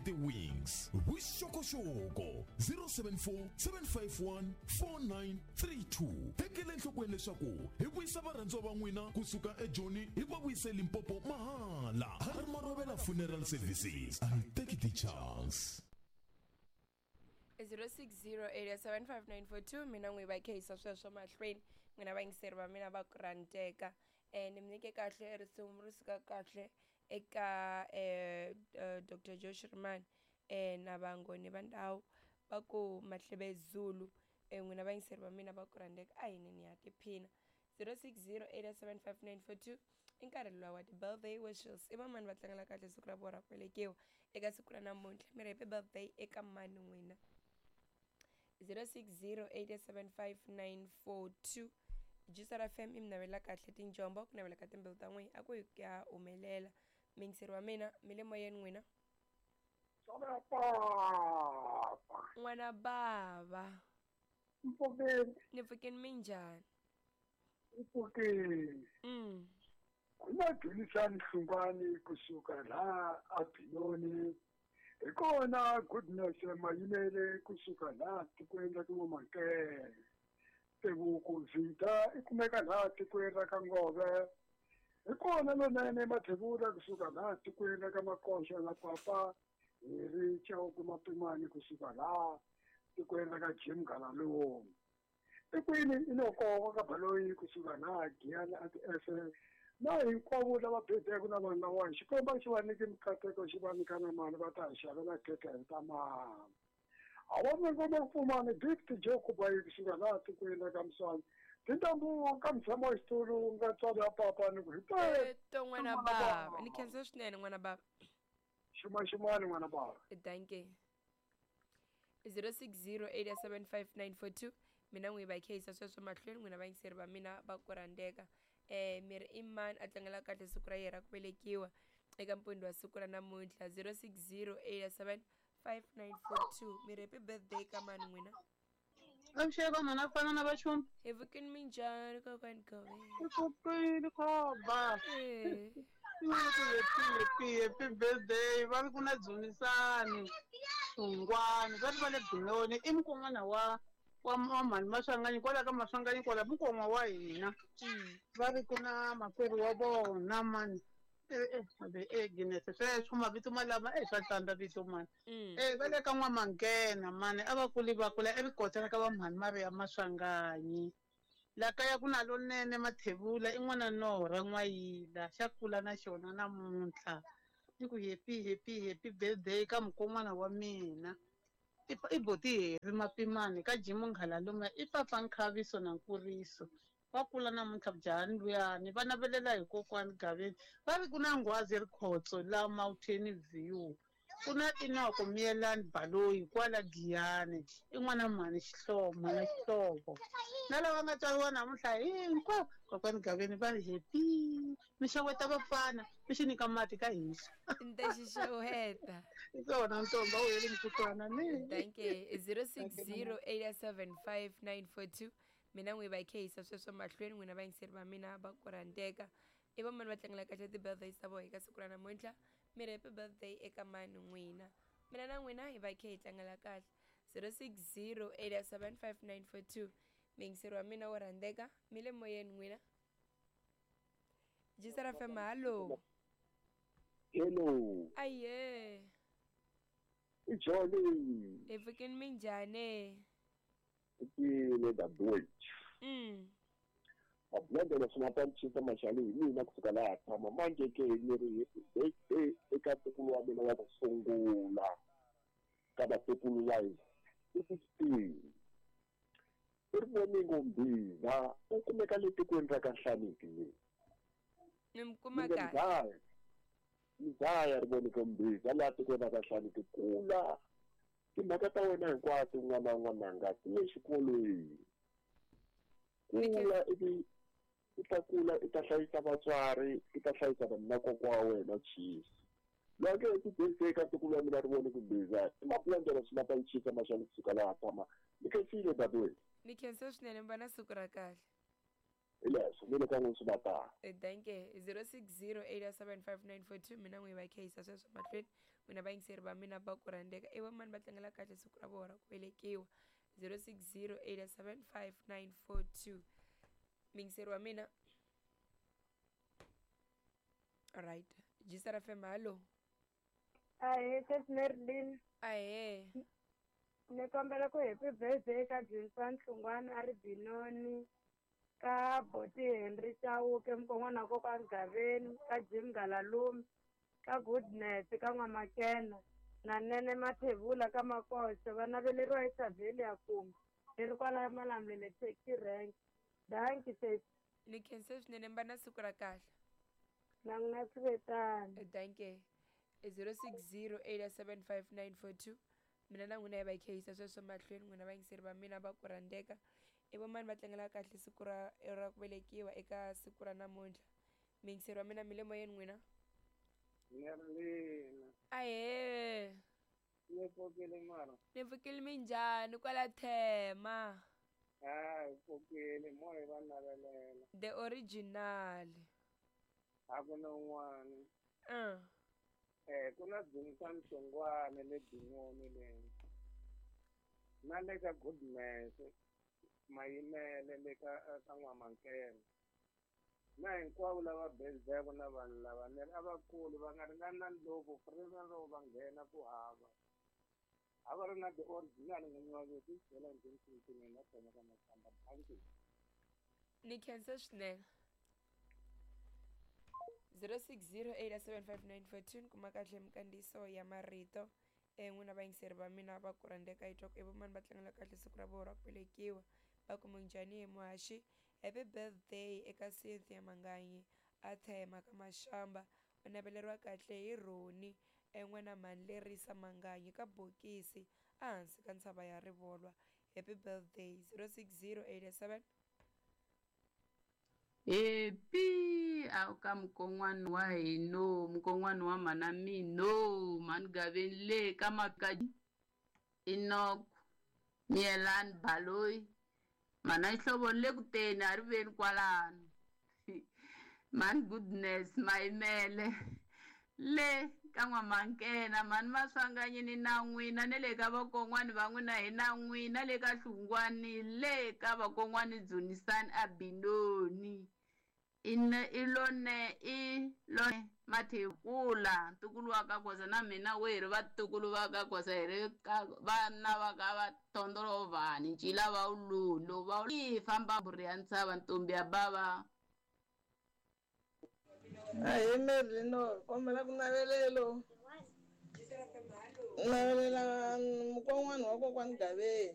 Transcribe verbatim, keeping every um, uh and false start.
ti-wings. Vuxokoxoko zero seven four seven five one four nine three two. Tekela enhlokweni leswaku hi vuyisa varhandziwa va n'wina kusuka eJoni hi va vuyise Limpopo mahala. Harry Marobela Funeral Services. I take the chance. zero six zero eight seven five nine four two mina n'wi va khehisa sweswo mahlweni n'wina vayingiseri va mina va ku rhandzeka. Eh ni mi nyike kahle risimu ri suka kahle eka eh Doctor Joe Shirimani eh na vangoni va ndhawu va ku Mahlebe Zulu. Eh n'wina vayingiseri va mina va ku rhandzeka a hi ni ya tiphina. zero six zero eight seven five nine four two i nkarhi luwa wa ti-birthday wishes. I vamani va tlangela kahle siku ra vona ra ku velekiwa eka siku ra namuntlha? Mi ri happy birthday eka mani n'wina? zero six zero eight seven five nine four two. Juicer F M i mi navela kahle tinjombo ku navela ka timbilu ta n'wina a ku hi ku ya humelela. Miyingiseri wa mina mi le moyeni n'wina. N'wana bava. Mpfukeni. Ni pfukeni minjhani? Mpfukeni. Mm. Kuna Dunisani Hlungwani kusuka la aBinoni. Hi kona Goodness Mayimele kusuka la tikweni ra N'wamakele. Tebuku Zita i kumeka laha tikweni ra ka Ngove. Hi kona lonene Mathebula kusuka laha tikweni ra ka Makoxa na Papa hi ri Chauke Mapimani kusuka laha tikweni ra ka Jim Galaloni. Ekwini Inoko ka Baloyi kusuka laha Giyani a ti-S na hinkwavo lava bedeke na vanhu lawani Xikwembu xi va nyike mikateko xi va nyika na mali va ta hi xavela khekhe hi ta mali. Awa ngoma pfumani Gift Joe Kubayi kusuka laha tikweni ra ka Mswani. Tintambu ka mutshamo wa xitulu nga tswari ya papa ni ku hi to n'wana bava. Ni khensa swinene n'wana bava. Xuma xumani n'wana bava. Dankie. zero six zero eight seven five nine four two mina n'wi va khehisa sweswo mahlweni n'wina vayingiseri va mina va ku rhandzeka. Eh mi ri i mani a tlangela kahle siku ra yena ra ku velekiwa eka mpundzu wa siku ra namuntlha? zero six zero eight seven five nine four two. Mi ri happy birthday ka mani n'wina? Avuxeni mhana ku fana na vachumi. Hi pfukeni minjhani kokwani Gove? Hi pfukile khomba. Eh. Happy happy happy birthday va ri ku na Dzunisani Hlungwani va ri va le Binoni i mukon'wana wa wa mhani Maswanganyi kwala ka Maswanganyi kwala mukon'wa wa hina. Va ri ku na makwerhu wa vona mani eh eh Guinness sweswo mavito malama eh swa tsandza vito mani. Eh va le ka N'wamanghena mani a va kuli va kula evikotela ka va mhani Maria Maswanganyi. La kaya ku na lonene Mathebula i n'wana Nora N'wayila xa kula na xona namuntlha. Ni ku happy happy happy birthday ka mukon'wana wa mina. I boti Heri Mapimani ka Jim Nghalaluma i papa Nkhaviso na Nkuriso. Va kula namuntlha njhani luyani va navelela hi kokwani Gaveni va ri ku na Nghwazi Rikhotso la Mountain View ku na Inoko Miyelani Baloyi kwala Giyani i n'wana mhani Xihlovo na Xihlovo na lava nga tswariwa namuntlha hinkwavo kokwani Gaveni va ri happy mi xeweta vafana mi xi nyika mati ka hisa. Ni ta xi xeweta. Hi swona ntomba wu heli mukutwana ni. Dankie. zero six zero eight seven five nine four two. Mina n'wi va khehisa sweswo mahlweni n'wina vayingiseri va mina va ku rhandzeka. I vamani va tlangela kahle ti-birthdays ta vona eka siku ra namuntlha? Mi ri happy birthday eka mani n'wina? Mina na n'wina hi va khe hi tlangela kahle. zero six zero eight seven five nine four two. Miyingiseri wa mina wo rhandzeka mi le moyeni n'wina. Juicer F M hallo. Hello. Aye. I Jolly. Hi pfukeni minjhani? Tile dadewethu. Mm. Mablendela swimatanchisa maxali hi mina kusuka laha tshama manje ke ni ri happy eka ntukulu wa mina wa ku sungula ka vatukulu wa hina i sixteen. I ri voningo Mbhiza u kumeka le tikweni ra ka Nhlaniki le. Ni mi kuma kahle. Mzaya ri voningo Mbhiza laha tikweni ra ka Nhlaniki kula timhaka ta wena hinkwato n'wana n'wananga ti le xikolweni. Kula ivi i ta kula i ta hlayisa vatswari i ta hlayisa vanhu na kokwa wa wena Chiefs. Loko i ti eka ntukulu wa mina ri vone ku Mbhiza i mapulandela swimatanchisa maxali kusuka laha tshama ni khensile dadewethu. Ni khensa swinene mi va na siku ra kahle. Hi leswo ni le ka n'wina swi va tano. Danke. Zero six zero eight seven five nine four two mina n'wi va khayisa sweswo mahlweni n'wina vayingiseri va mina va ku rhandzeka i vamani va tlangela kahle siku ra vona ra ku velekiwa zero six zero eight seven five nine four two muyingiseri wa mina. Alright, G S R F M, hallo. Ahee, sesi Marilyn. Ahee. Ni kombela ku happy birthday ka Dzunisani Hlungwani a ri Binoni, ka Boti Henry Chauke mukon'wana wa kokwani Gaveni, ka Jim Galalume, ka Goodness ka N'wamakena na Nene Mathebula ka Makoxe va naveleriwa eXavheli ya Kumbe leri kwala Malamulele taxi rank. Dankie sesi. Ni khense swinene, mi va na siku ra kahle. Na n'wina swi ve tano. Danke. Zero six zero eight seven five nine four two mina na n'wina hi va khayisa sweswo mahlweni n'wina vayingiseri va mina va ku rhandzeka i vamani va tlangela kahle siku ra ra ku velekiwa eka siku ra namuntlha. Muyingiseri wa mina, mi le moyeni n'wina. Merlina. Ahee. Ni pfukile mara. Ni pfukile, minjhani kwala Thema? Ha, hi pfukile, mo hi va navelela. The original. A ku na un'wana. uh. Eh, ku na Dzunisani Hlongwane le Binoni le. Na le ka Goodness Mayimele le ka ka N'wamankena. Na hinkwavo lava birthday na vanhu lava ni ri a vakulu va nga ringani na ndlopfu free na loko va nghena ku hava. A va ri na the original n'winyi wa vito byela njhani na tona ka Makhamba. Thank you. Ni khense swinene. Zero six zero eight seven five nine four two ni kuma kahle minkandziyiso ya marito e n'wina vayingiseri va mina va ku rhandzeka yi twa ku i vamani va tlangela kahle siku ra vona ra ku velekiwa. Va ku minjhani hi muhaxi, happy birthday eka Cynthia Manganyi a Thema ka Mashamba u naveleriwa kahle hi Roni en'wana mhani Lerisa Manganyi ka Bokisi ehansi ka ntshava ya Rivolwa. Happy birthday. Zero six zero eight seven. Happy a ka mukon'wana wa hino, mukon'wana wa mhana mino, mhani Gaveni le ka maka Enoch Miyelani Baloyi mhana Xihlovo le ku teni a ri veni kwalano mhani Goodness Mayimele le ka N'wamankena mhani Maswanganyini na n'wina ne le ka vakon'wani va n'wina hi na n'wina le ka Hlungwani le ka vakon'wani Dzunisani a Binoni ine i lone i lone Mathekula ntukulu wa ka Khoza na mina we hi ri vatukulu va ka Khoza hi ri ka vana va ka va Thondolovhani ncila va wululo va yi famba mburi ya ntshava ntombi ya bava. Ahee Merlino, kombela ku navelelo navelela mukon'wana wa kokwani Gaveni.